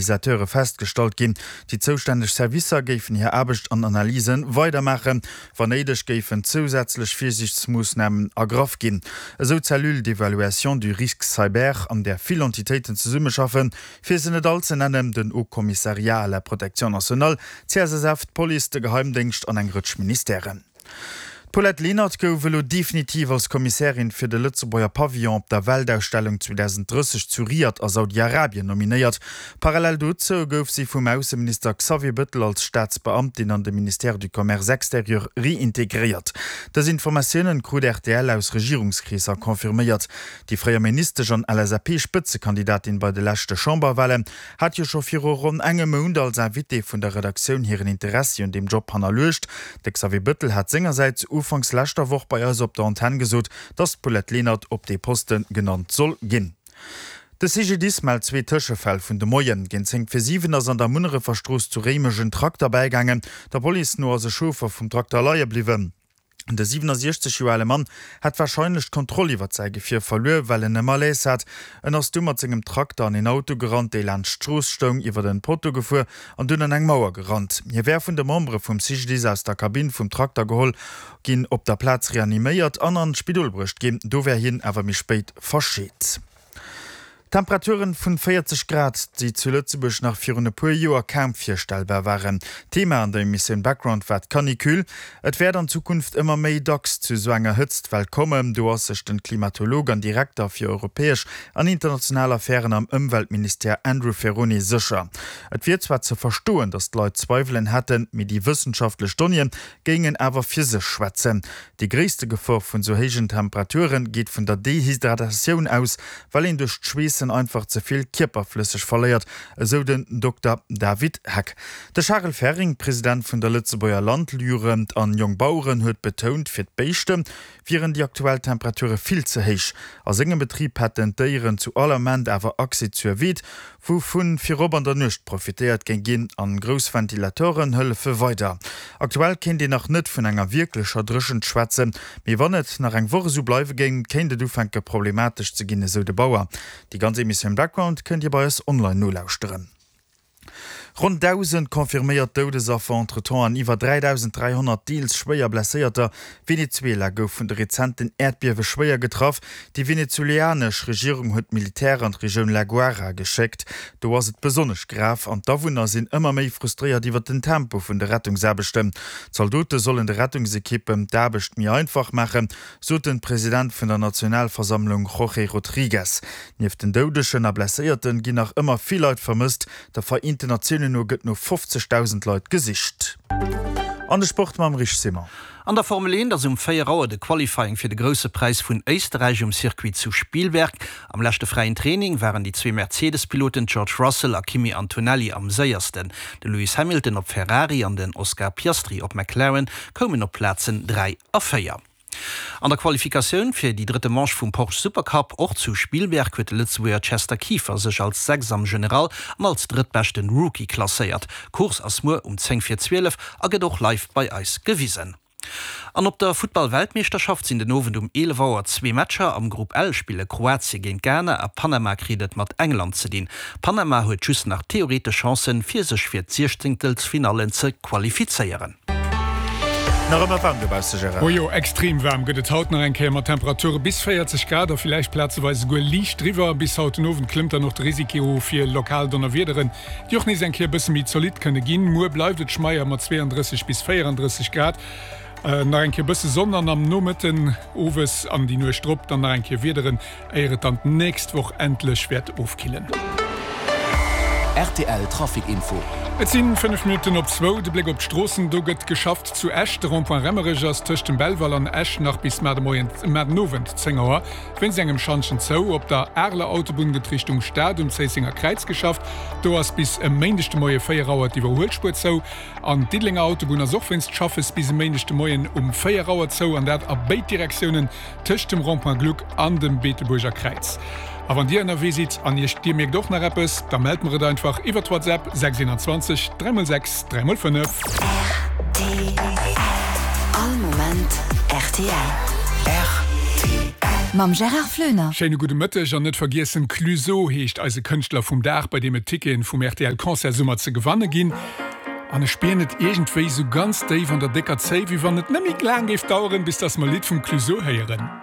Utilisateure festgestallt ginn. Déi zoustänneg Servicer géifen hir Aarbecht an Analyse weidermaachen. Wann néideg géifen zousätzlech Virsiichtsmoossnamen ergraff ginn. Esou d'Cellule d'évaluation du risque cyber, an där vill Entitéiten zesummeschaffen, fir se net all ze nennen, den Haut Commissariat à la protection nationale, d'CSSF, d'Police, de Geheimdéngscht an eng Rëtsch Ministèren. D'Paulette Lenert gouf elo definitiv als Kommissärin fir de Lëtzebuerger Pavillon op der Weltausstellung 2030 zu Riad a Saudi-Arabien nominéiert. Parallel dozou gouf si vum Ausseminister Xavier Bëttel als Staatsbeamtin an de Ministère du Commerce extérieur reintegréiert. Dës Informatiounen krut rtl aus Regierungskreesser confirméiert. Déi fréier Ministesch an LSAP-Spëtzekandidatin bei de leschte Chamberwahlen hat jo scho viru ronn engem Mount als Invitée vun der Redaktioun hiren Interessi un deem Job hannerluecht. De Xavier Bëttel hat sengersäits ufanks leschter Woch bei eis op der Antenn gesot, datt d'Paulette Lenert op dee Poste genannt soll ginn. De CGDIS mellt zwee Tëschefäll vun de Moien. Géint 10 vir 7 ass an der Munnerefer Strooss zu Réimech en Trakter bäigaangen. Der Police no ass e Chauffer vum Trakter leie bliwwen. De 67 Joer ale Mann hätt warscheinlech d'Kontroll iwwert säi Gefier verluer, well en e Malaise hat. En ass du mat sengem Trakter an een Auto gerannt, dee laanscht d'Strooss stoung, iwwert en Potto gefuer an dunn an eng Mauer gerannt. Hie wär vun de Membere vum CGDIS aus der Kabinn vum Trakter geholl ginn, op der Plaz reaniméiert an an d'Spidol bruecht ginn. Do wär hien awer méi spéit verscheet. Temperaturen vun 40 Grad, déi zu Lëtzebuerg nach virun e puer Joer kaum virstellbar waren. Thema an der Emissioun Background war d'Canicule. Et wäert an Zukunft ëmmer méi dacks zu esou enger Hëtztwell kommen. Do ass sech den Klimatolog an Direkter fir europäesch an international Affären am Ëmweltministère Andrew Ferrone sécher. Et wier zwar ze verstoen, datt d'Leit Zweiwelen hätten, mee déi wëssenschaftlech Donnéeë géingen awer fir sech schwätzen. Déi gréisste Gefor vun sou héijen Temperature geet vun der Dehydratatioun aus, well een duerch d'Schweessen einfach ze vill Kierperflësseg verléiert, esou den Dokter David Heck. De Charel Ferring, President vun der Lëtzebuerger Landjugend an Jongbaueren, huet betount, fir d'Béischte wieren déi aktuell Temperature vill ze héich. A sengem Betrib hätten d'Déieren zu all Ament awer Accès zur Weed, wou vu virop an der Nuecht profitéiert géing ginn, an grouss Ventilatoren hëllefe weider. Aktuell kéint een nach net vun enger wierklecher Dréchent schwätzen, mee wann et nach eng Woch esou bleiwe géing, kéint et ufänke problematesch ze ginn, esou de Bauer. Déi ganz Emissioun Background kënnt Dir bei eis online nolauschteren. Ronn 1.000 confirméiert Doudesaffer entretemps an iwwer 3.300 deels schwéier Blesséierter. Venezuela gouf vun de rezenten Äerdbiewe schwéier getraff. Déi venezueleanesch Regierung huet d'Militär an d'Regioun La Guaira geschéckt. Do ass et besonnesch grav an d'Awunner sinn ëmmer méi frustréiert iwwer den Tempo vun de Rettungsaarbechten. D'Zaldote sollen de Rettungsekippen d'Aarbecht méi einfach maachen, sot den President vun der Nationalversammlung Jorge Rodriguez. Nieft den Doudegen a Blesséierten ginn nach ëmmer vill Leit vermësst. Der Vereenten Natiounen no gëtt no 50.000 Leit gesicht. An de Sport mam Rich Simon. An der Formel 1 ass um 4 Auer de Qualifying fir de Grousse Präis vun Éisterräich um Circuit zu Spielberg. Am leschte fräien Training waren déi zwee Mercedes-Piloten George Russell a Kimi Antonelli am séiersten. De Lewis Hamilton op Ferrari an den Oscar Piastri op McLaren koumen op d'Plazen 3 a 4. An der Qualifikatioun fir déi drëtte Manche vum Porsche Supercup, och zu Spielberg, huet de Lëtzebuerger Chester Kieffer sech als Sechs am General an als drëttbeschten Rookie klasséiert. D'Course ass muer um 10 vir 12 a gëtt och live bei eis gewisen. An op der Futtball-Weltmeeschterschaft sinn den Owend um 11 Auer zwee Matcher. Am Grupp L spille Kroatie géint Ghana a Panama kritt et mat England ze dinn. Panama huet just nach theoretesch Chancen, fir sech fir d'Siechzéngtelsfinallen ze qualifizéieren. Nach ëmmer waarm dobausse, Gérard? Oh jo, extrem waarm gëtt et haut nach eng Kéier mat Temperature bis 40 Grad a villäicht plazeweis esouguer liicht driwwer. Bis haut den Owend klëmmt dann och de Risiko fir lokal Donnerwiederen, déi och nees eng Kéier e bësse méi zolidd kënne ginn. Muer bleift et schmeier mat 32 bis 34 Grad, nach eng Kéier e bësse Sonn an am Nomëtten, owes an déi Nuecht drop dann nach eng Kéier Wiederen. Éier et dann d'nächst Woch endlech wäert ofkillen. Rtl Trafic Info. Et sinn 5 Minutten op zwou. De Bléck op d'Stroossen, Do gëtt geschafft zu Esch. De Rond-point Remmerech ass tëscht dem Belval an Esch nach bis mar de Moien, mar den Owend 10 Auer wéinst engem Schantjen zou. Op der Areler Autobunn gëtt Richtung Stad um Zéissenger Kräiz geschafft. Do ass bis e Méindeg de Moie 4 Auer d'Iwwerhuelspuer zou. An d'Diddelenger Autobunn ass och wéinst Schaffes bis e Méindeg de Moien um 4 Auer zou, an dat a béid Direktiounen. Tëscht dem Rond-point Gluck an dem Beetebuerger Kräiz. A wann Dir ënnerwee sidd an Iech Dir mierkt och nach eppes, da mellt mer et einfach iwwert WhatsApp 621 3x6 3x5. Rtl. All Moment rtl. Rtl. Mam Gérard Floener. Schéine gudde Mëtteg an net vergiessen, Clueso heescht eise Kënschtler vum Dag, bei deem et Ticketen vum rtl Concert Summer ze gewanne ginn. An ech spieren et iergendwéi sou ganz déif an der décker Zéif, wéi wann et net méi laang géif daueren, bis dass mer e Lidd vum Clueso héieren.